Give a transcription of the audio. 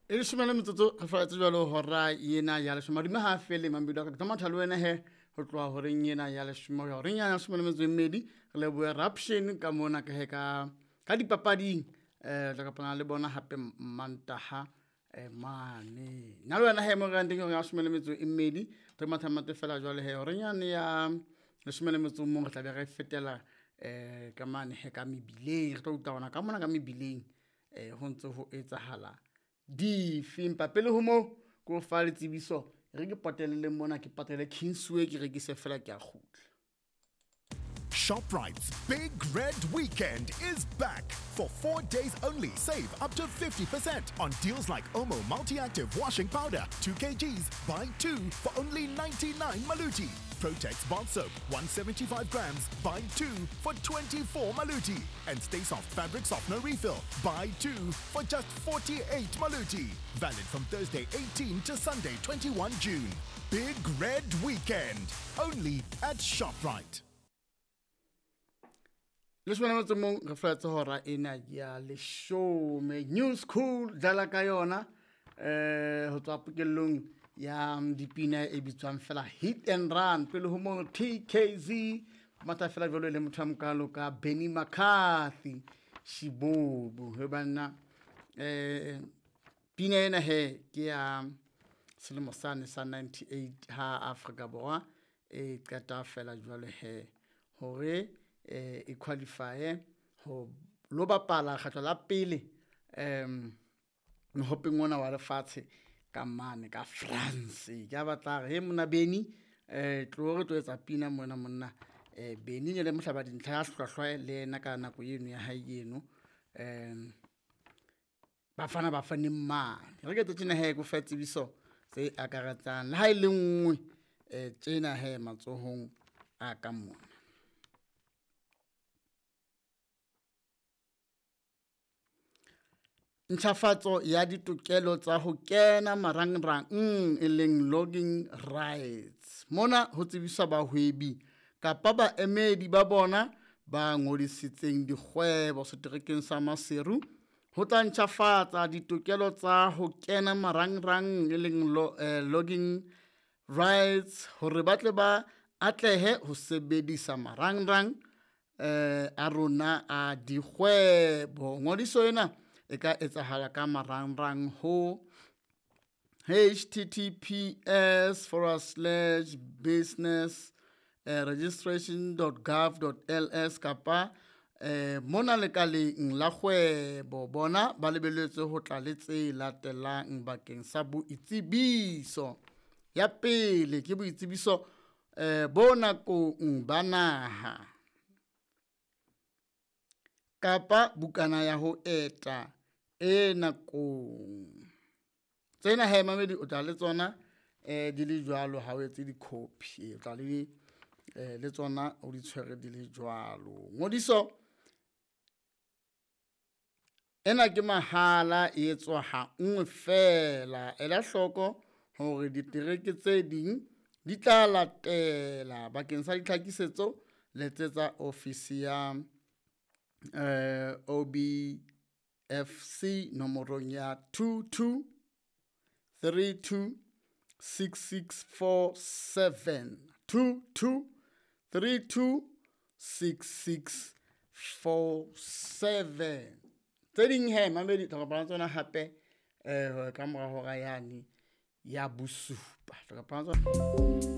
E leshome le metsotso re faletse jwalo hora ena ya leshome. Madimo ha a fele mamedi wa ka, ke tlo matha le wena he ho tloha horeng ena ya leshome ho ya horeng ya leshome le metso e mmedi. Re lebohe Raption ka mona ka he ka dipapading. Tla kopana le bona hape Mantaha mane. Nna le wena he mo re yang teng hora ya leshome le metso e mmedi, re matha mate fela jwale he horeng yane ya leshome le metso o mong re tla be re fetela ka mane he ka mebileng. Re tlo utlwa hona ka mona ka mebileng ho ntse ho etsahala dife. Empa pele ho moo ke o fa le tsebiso, re ke potelle mona, ke patele Kingsway, ke rekise fela ke a kgutla. ShopRite's Big Red Weekend is back. For 4 days only, save up to 50% on deals like Omo Multi-Active Washing Powder, 2 kgs, buy 2 for only 99 Maluti. Protex Bath Soap, 175 grams, buy 2 for 24 Maluti. And Stay Soft Fabric Softener Refill, buy 2 for just 48 Maluti. Valid from Thursday 18 to Sunday 21 June. Big Red Weekend, only at ShopRite. Leshome le motso mong re flatse hora ena ya leshome. New School dlala ka yona ho tswa pokellong ya dipina e bitswang fela Hit and Run. Pele ho moo TKZ matha fela jwalo le motho a mokalo ka Benny McCarthy Shibobo. He banna pina ena he ke ya selemo sane sa 98 ha Afrika Borwa e qeta fela jwalo he hore e qualify ho lo bapala kgetlo la pele mohopeng ona wa lefatshe ka mane ka France. Ke a batla re he monna Benny tlo re tlo etsa pina mona monna. Benny ne le mohlaba dintlha ya hlwahlwa le yena ka nako eno ya hae eno. Bafana bafaneng mane. Re ke tjena he ko fa tsebiso tse akaretsang le ha e le nngwe tjena he matsohong a ka mona. Ntjhafatso ya ditokelo tsa ho kena marangrang e leng logging rights. Mona ho tsebiswa bahwebi kapa baemedi ba bona ba ngodisitseng dikgwebo seterekeng sa Maseru ho tla ntjhafatsa ditokelo tsa ho kena marangrang e leng logging rights hore ba tle ba atlehe ho sebedisa marangrang a rona a dikgwebo. Ngodiso ena e ka etsahala ka marangrang ho https forward slash business registration dot gov dot ls kapa mona lekaleng la kgwebo. Bona ba lebelletswe ho tla le tse latelang bakeng sa boitsebiso. Ya pele ke boitsebiso bo nakong ba naha kapa bukana ya ho eta e nakong. Tsena he mamedi o tla le tsona di le jwalo ha o etse di-copy, o tla le tsona o di tshwere di le jwalo. Ngodiso ena ke mahala, e etswa ha nngwe fela. Ela hloko hore ditereke tse ding di tla latela. Bakeng sa ditlhakisetso letsetsa ofisi ya OBFC nomorong ya 22 32 6647, 22 32 6647. Tse ding he mamedi tla kopana tsona hape ka mora hora yane ya bosupa. Tla kopana tsona.